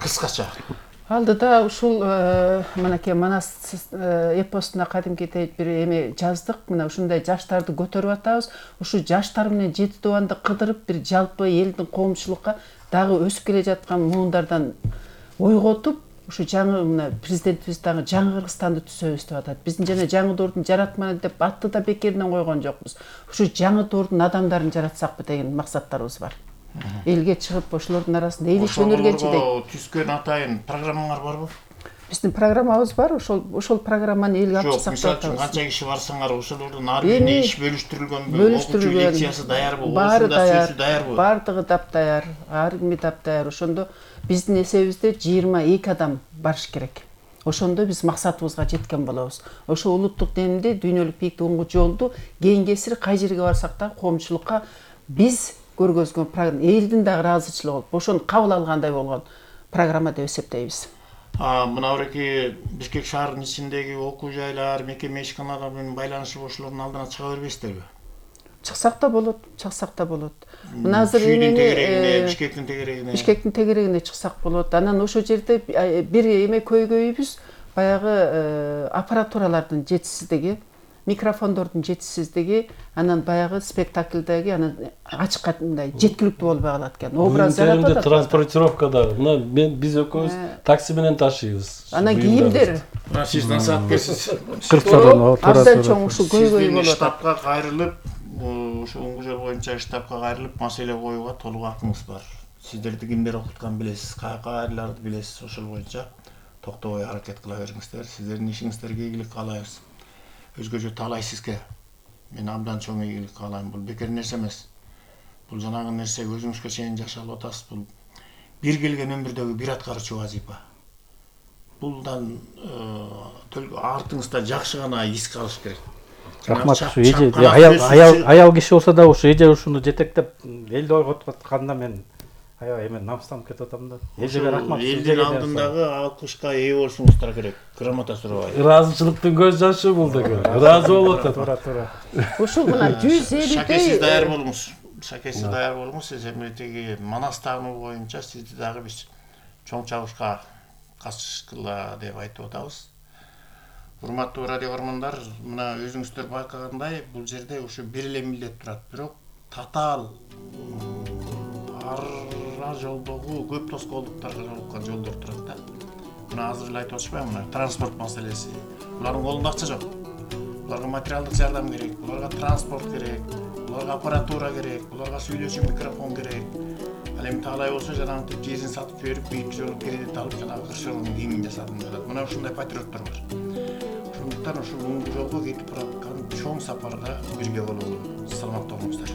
кыскача. Алдыда ушул мынакей Манас эпосуна кадимкидей бир эме жаздык. Мына ушундай жаштарды көтөрүп атабыз. Ушу жаштар менен жети тубанды кыдырып бир жалпы элдин коомчулукка дагы өсүп келе жаткан муундардан ойготуп, ушу жаңы мына президентибиз дагы жаңы Кыргызстанды түзөбүз деп атат. Биздин жана жаңы доордун жаратманы деп атты да бекеринен койгон жокпуз. Ушу жаңы доордун адамдарын жаратсакпы деген максаттарыбыз бар. Элге чыгып ошолордун арасында эл иш өнөргөнчү дейт. Түзгөн атайын программаңар барбы? Биздин программабыз бар. Ошол программаны элге алып чыксак деп атабыз. Жок, мисалы үчүн канча киши барсаңар, ошолордун ар бирине иш бөлүштүрүлгөнбү? Окуучу лекциясы даярбы? Ошондо сөзү даярбы? Бардыгы таптаяр, ар кими таптаяр. Ошондо биздин эсебибизде 22 адам барыш керек. Ошондо биз максатыбызга жеткен болобуз. Ошо улуттук деңгээлде дүйнөлүк бийликти унгу жолду кийинкесир кай жерге барсак да коомчулукка биз көргөзгөн программа элдин дагы ыраазычылыгы болуп, ошону кабыл алгандай болгон программа деп эсептейбиз. Мына Бишкек шаарынын ичиндеги окуу жайлар, мекеме ишканалар менен байланышып ошолордун алдына чыга бербейсиздерби? Чыксак да болот. Мына азыр Бишкектин тегерегине чыксак болот. Анан ошол жерде бир эме көйгөйүбүз баягы аппаратуралардын жетишсиздиги, микрофондордун жетишсиздиги, анан баягы спектакльдеги анан ачыкка мындай жеткиликтүү болбой калат экен. Образ жаратып атат. Транспортировкада мына биз экөөбүз такси менен ташыйбыз. Анан кийимдер. Сиз насаат берсиз. Абдан чоң ушул көйгөй болуп атат. Штабка кайрылып, ошо унгу жол боюнча штабка кайрылып маселе коюуга толук акыңыз бар. Сиздерди кимдер окуткан билесиз, каяка айларды билесиз, ошол боюнча токтобой аракет кыла бериңиздер. Сиздердин ишиңиздерге ийгилик каалайбыз. Өзгөчө талай сизге мен абдан чоң ийгилик каалайм. Бул бекер нерсе эмес. Бул жанагы нерсе өзүңүзгө чейин жашалып атасыз. Бул бир келген өмүрдөгү бир аткарчу вазифа. Булдан артыңызда жакшы гана из калыш керек. Рахмат. Ушу эже аял киши болсо да ушу эже ушуну жетектеп элди ойготуп атканда мен аябай эме намыстанып кетип атам да. Эжеге рахмат. Элдин алдындагы алкышка ээ болушуңуздар керек. Грамота сурабайт. Ыраазычылыктын көз жашы бул деген. Ыраазы болуп атат. Туура. Ушул мына 150 Шакесиз даяр болуңуз. Шакесиз даяр болуңуз. Сиз эмнетеги Манас таануу боюнча сизди дагы биз чоң чабышка катышкыла деп айтып атабыз. Урматтуу радио көрөрмандар, мына өзүңүздөр байкагандай, бул жерде ушу бир эле милдет турат, бирок татаал ар жолдогу көп тоскоолдуктарга жолуккан жолдор турат да. Мына азыр эле айтып атышпайбы, мына транспорт маселеси. Булардын колунда акча жок. Буларга материалдык жардам керек, буларга транспорт керек, буларга аппаратура керек, буларга сүйлөшүү микрофон керек. Ал эми таалай болсо жанагынтип жерин сатып берип, бийик жолу кредит алып, жанагы кыршоонун кийимин жасадым деп атат. Мына ушундай патриоттор бар. Ошондуктан ушул жолго кетип бараткан чоң сапарда бирге бололу. Саламатта болуңуздар.